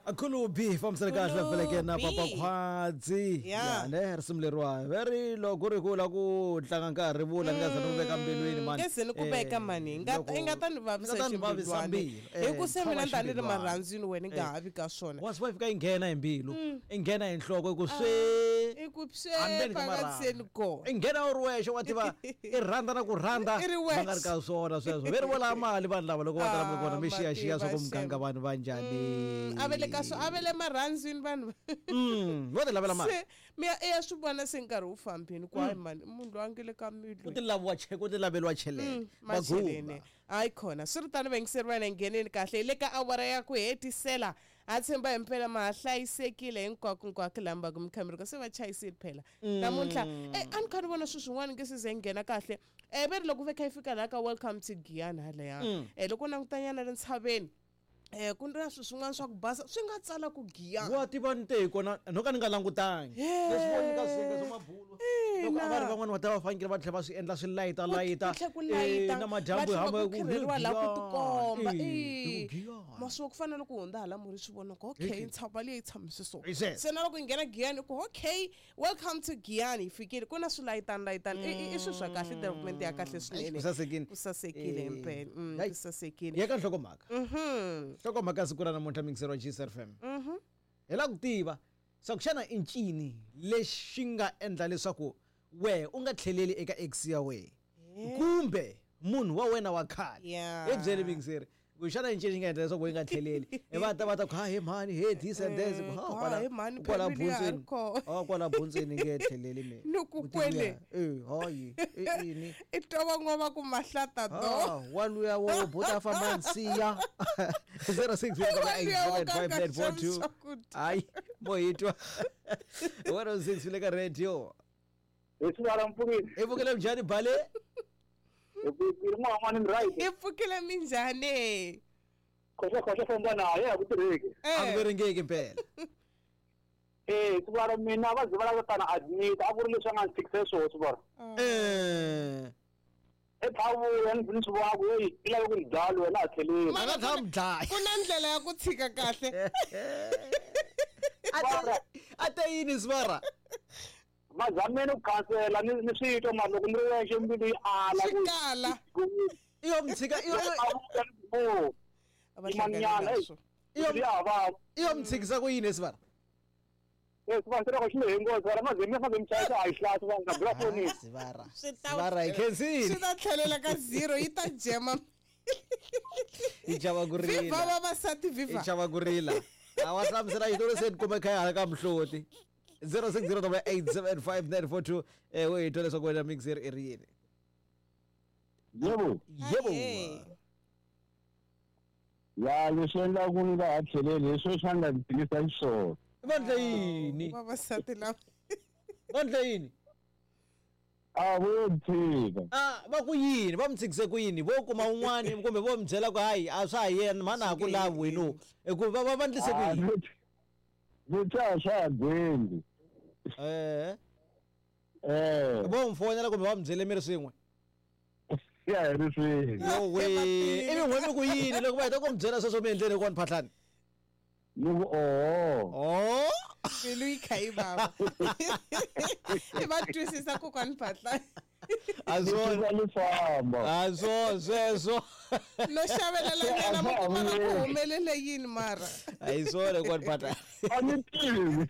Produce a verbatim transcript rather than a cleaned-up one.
Akhulubi fambisana kahle feleke na Papa Khwadzi. Yeah. Ne risimu leriwa very loko ri ku la ku tlanga nkarhi vula ni nga za ni ku veka mbilwini mani. Nge se ni ku veka mani nga i nga ta ni vavisa Nga ta ni vavisa ximbilwani. mbilu. Hi ku se mina ni ta ni ri ximbilwani. marhandzwini wena i nga ha vi ka swona. Was wife ka yi nghena hi mbilu, i nghena hi nhloko ku swe I ku swe Handleni ka phakatseni marhambu. kona. I nghena u ri wexe wa tiva i rhandza na ku rhandza I ri va nga ri wexe. ka swona sweswo ve ri vola mali vanhu lava loko va ta lama kona mi Ah, xiyaxiya swa ku mativa muganga xem. vanhu va njhani. A ve le ka swo a ve le marhandzwini vanhu. Mm, vo ti lavela mali. Se mi ya i ya swi vona se nkarhi wu fambini ku hayi mani munhu loyi a nge le ka mbilu. Ku ti laviwa che ku ti laveliwa cheleni. Macheleni hayi khona swi ri tano vayingiseri va hina ngheneni kahle hi le ka awara ya ku hetisela ha tshemba himpela ma ha hlayisekile hinkwako hinkwako laha mi va ku mi kha mi ri kona se va chayisile phela namuntlha e a ni kha ni vona swilo swin'wana nge se ze nghena kahle um ve ri loko ve kha yi fika laha ka welcome to Giyani halaya um loko u langutanyana le ntshaveni um ku na swilo swin'wana swa ku basa swi nga tsala ku Giyani Wa tiva ni te hi kona no ka ni nga langutangi. Leswi vo nyika swinga swa mabulu. Loko a va ri van'wani va ta va fanekele va tlhela va swi endla swi layita layita. ku tlhe ku layita Eh, na madyambu va hi hamba tlhela ku khirheriwa laha ku tikomba Eh, Eh, hi ku Giyani. masiku ku fana loko hundza hala murhi swi vona ku okay ntshava leyi yi tshamise so Hi sweswo. se na loko yi nghena Giyani ku okay welcome to Giyani yi fikile ku na swilayitani layitani I- i i swilo swa kahle development ya kahle swinene Ku sasekile. ku sasekile Eh, himpela Mm, hayi. ku sasekile Ya ka nhlokomhaka. Nhlokomhaka ya siku ra namuntlha mixer wa G S F M. Hi lava ku tiva swa ku xana i ncini lexi nga endla leswaku wehe u nga tlheleli eka ex ya wehe kumbe munhu wa wena wa khale. Yeah. Hi byele mixer ku xana i ncini xi nga endla leswaku u nga tlheleli i va ta va ta ku ha he mhani he this and this Eh, ha ku, kwala ha, he mhani, kwala family ya ha ri buntsweni kona. ha kwala buntsweni nge tlheleli mina Ni ku U ti kwele. vuya, eh hayi i ini i twa van'wana va ku mahlata do Ah, waluya wo buta famba nsiya zero six Waluya wo ka nga eight seven five nine four two xavi swakudya. hayi mo hi twa one oh six le ka radio hi sivara mpfukile i pfukile njhani bale hi ku ri n'wana ni right i pfukile minjhani khoxa khoxa famba naye a ku tirheki a ku Eh. veringeki mpela eh sivara mina va ze va lava tana admit a ku ri leswi a nga ni tshikise swona sivara Eh, i thavuya ni ni swi vona ku eyi i lave ku ni dlaya wena a tlheleli a nga tshama dlaya ku na ndlela ya ku tshika kahle A te- a te yini sivara va zameni ku khansela ni ni swi twa mara loko ni ri wexe mbilu yi ala swi ku kala i yo mi tshika i yo- thavuya ni ku o A va hlangani yimanyana na swona. eyi ya vava i yo mi tshikisa ku yini sivara eh sivara se loko xi lehe ngopfu sivara ma ze mi fa ze mi chayisa a yi hlasi va nga bula fonini sivara Swi ta- sivara hi khensile swi ta tlhelela ka zero yi ta jema yi chava ku viva rila vavasati i viva chava ku rila a wa hlamusela xitori se ni kume kha ya hala ka mihloti zero six zero double eight seven five nine four two eh wo hi twa leswaku wena mixer i ri yini Yebo, yebo Ahee. ya leswi endlaku ni nga ha tlheleli hi sweswi a nga ni tivisa xiswona. va ndle yini vavasati lava va ndle yini A vo yo tshika. a va ku yini va mi tshikise ku yini vo kuma un'wani kumbe vo mi byela ku hayi a swa ha yena mhani a ha ku lavi wenu hikuva va va va ndlise ku Ah, yini ni- Ni twa a swa ha gwendi. eh Eh, vo mi fonela kumbe va mi byele mi ri swin'we ya hi ri swin'we. yowe ivi n'we mi ku yini loko va heta ku mi byela sweswo mi endleni kona phatlani Ni ku oho. oh mbilu yi kha yi vava i va twisisa kokwani Phatla a Ni swona tshika ni famba. a swo sweswo no xavelela nyana mi kuma va ku humelele yini mara a hi swona kona phatlani A ni tivi.